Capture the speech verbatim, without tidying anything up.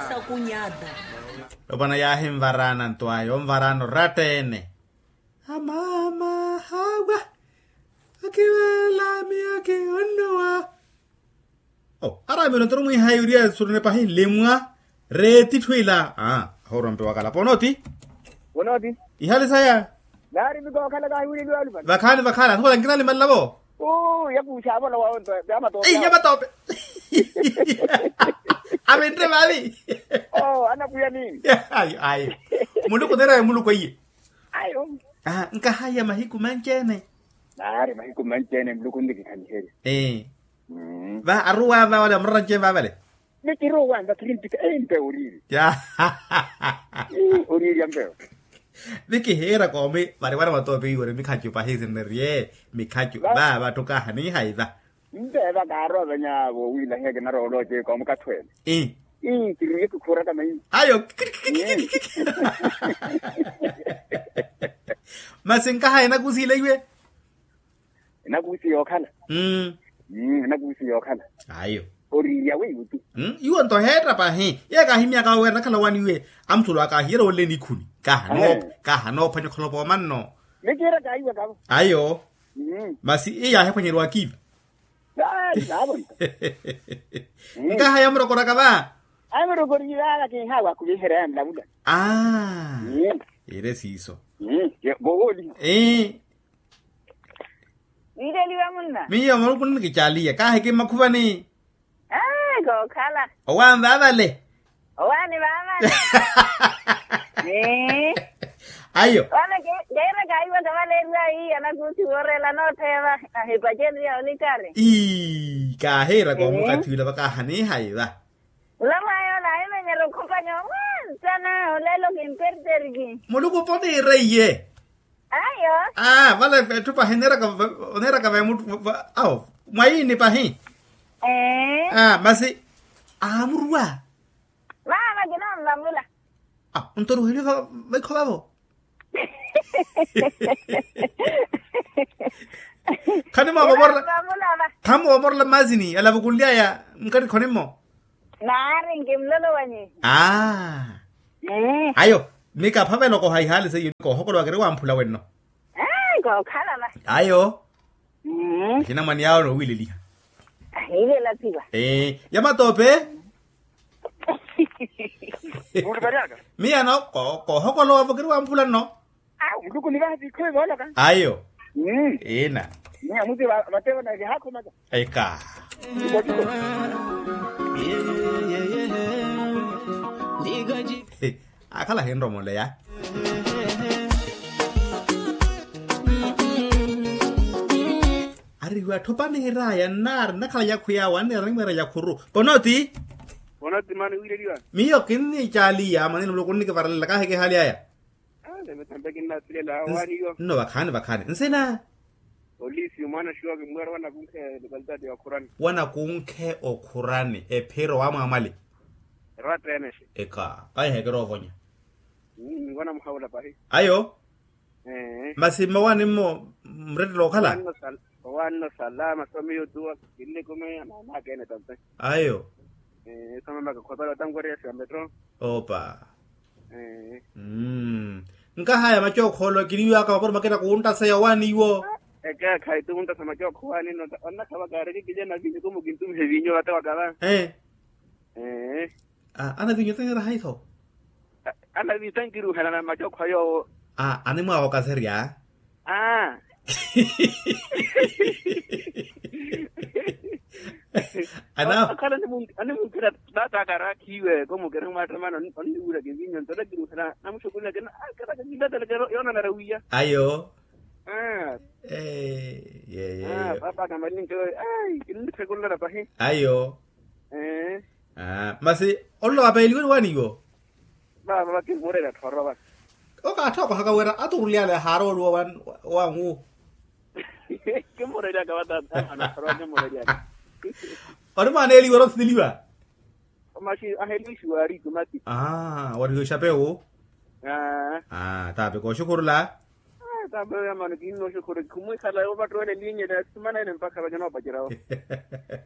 Sakunyada. Opwana yaahinvaraana nto ayo onvaraana oratta-ene. Amaama hawa. Akiveela miyo ki onnuwa. Araamile ontoru mwiihaya uriya surune pahi nlimwa. Reeti etthu ila ahoorwa mpe wakala ponooti. Ponooti. Ihali saya. Naari mikookhala kahiwileliwa alupale. Vakhaani vakhaani athukula nkinalimalelavo. Uu yakuuxa avolowa onto yamatoope. Yamatoope. Avinre vaavi. Oo anapwiya niini. Ayo ayo. Muluku oneeraya muluku eiye. Ayo. Nkahaya mahiku manci-ene. Naari mahiku manci-ene muluku nnikikhanyiherya. Ee. Va aruwa va wale amurara nce va vale. Nikiruwa nta kiri mpikha empe oriiri. Oriiri ampewo. Nikihiira koomi vari wana matoope iwere mikhacu pahi sinnerye mikhacu va vatthu kaha niihaiva. Mpeeva kaaroovenya voowiilahiya kinaroolooce koomukathweene. Ii. Ii kiriye kikhuuraka mainci. Ayo. Masi nkaha enakusiile iwe. Enakusi yookhala. Mmm. Enakusi yookhala. Ayo. Oriirya weiwo tu. Iwo nto heetta pahi iye kaahimyaka wira nakhala wani iwe. Amuthulu akahiyerya woolele nikhuni kaha noopha kaha noophwanya okholopa omanno. Nikiira kaahiwakavo. Ayo. Masi iye yaahiphwanyeriwa akiiva. Nkaha yamurokoraka va. Amurokoriye vava kinhawa khuviherya yanlavula. Aa. Ire siiso. Vowooli. Ii. Niiteliwa munna. Miyo maluku nnikicaliya kaahiki mmakhuvani. Aa kookhala. Owaani vaavale. Owaani vaavale. Ayo. Vale keera kaiwa tavaleeriwa ii anakusi woorela nootheeva. Ahipaceniya onikari. Ii kaahiira koomukatthi ula vakaahanihaiva. Nlomwayo naahimenyerya okhupa nyoowa nsana olelo kimperteriki. Muluku poneera iye. Ayo. Vale etthu pahi oneeraka veemuttu awo mwayiini pahi. Masi aamuruwa. Vava kinonvamula. Ontoruheliwe vaikho vavo. Khanimwavamorela. Khanimwavamorela mmaasini alavukunly'aya. Nkatthi khonimmo. Naari nkimlolowanyi. Aa. Ayo. Mikaphavela okoha ihaali seiyo nikoohokolowa kiri wamphula wenno. Kookhala va. Ayo. Axinamwane yaawo noowiileliha. Ahiilela thiva. Ee ya matoope. Miya no koohokolowa vo kiri wamphula nno. Muluku ni vaha viikho ivooloka. Ayo. Ina. Miya muti vatevo na vihaakhomaka. Eka. Akhala ahinromoleya. Ari iwe atthu opaniheraya nnaari nnakhala yakhwiyawe anniira nimwiira yakhuru. Ponooti. Ponooti mani wiileliwa. Miyo kinnicaaliya mwanini muluku nnikivarelela kaahiki ehaali aya. Nno vakhaani vakhaani nsina. Olisi mwaana xiwa kimweera wanakunkhe lokalitaati ya okhurani. Wanakunkhe okhurani ephiro wa mwaamwali. Eratta ene. Eka kahiheekera ovonya. Wanamuhawula pahi. Ayo. Masi mmawaani mmo murettela okhala. Owaanno salama somiyo tuwa. Kinnikumeya maamaaka ene tampe. Ayo. Somamaka khopela otankweriya siya metro. Opa. Nkahaya macookho olo kiniwaka mapuro makina kuwunttaseya owaani iwo. Ekeekhayi tuwunttasa macookho owaani nno onnakhavaka ariki kijana vinyu kumu kintumihe vinyu vatewaka va. Ee. Ana vinyu taniraha itho. Ana vinyu tankiruhela na macookho a yoowo. Animwaawokaserya. Aa. Akhala animunkhira taata akarakhiwe komukira mwaattamana onniwuraka evinyo nto takiruhela namuxukulaka. Yoonanara wiya. Ayo. Paapa akamalinke nnitthekulana pahi. Ayo. Masi olowa peeliwe ni waaniwo. Vava vakimureera tthoro va. Okaatthookohaka wira aturulyale haarooluwa wanwu. Kimureeryaka vata. Ori mwaana eliwa ori othiteliwa. Maxi ahelixiwa ari tumati. Warihiwe xapewu. Taapika oxukhurula. Taapika yamano kinnooxukhurula khumwikhala ovattuwela elinyela simana ene mpakha vanyana opaceryawo.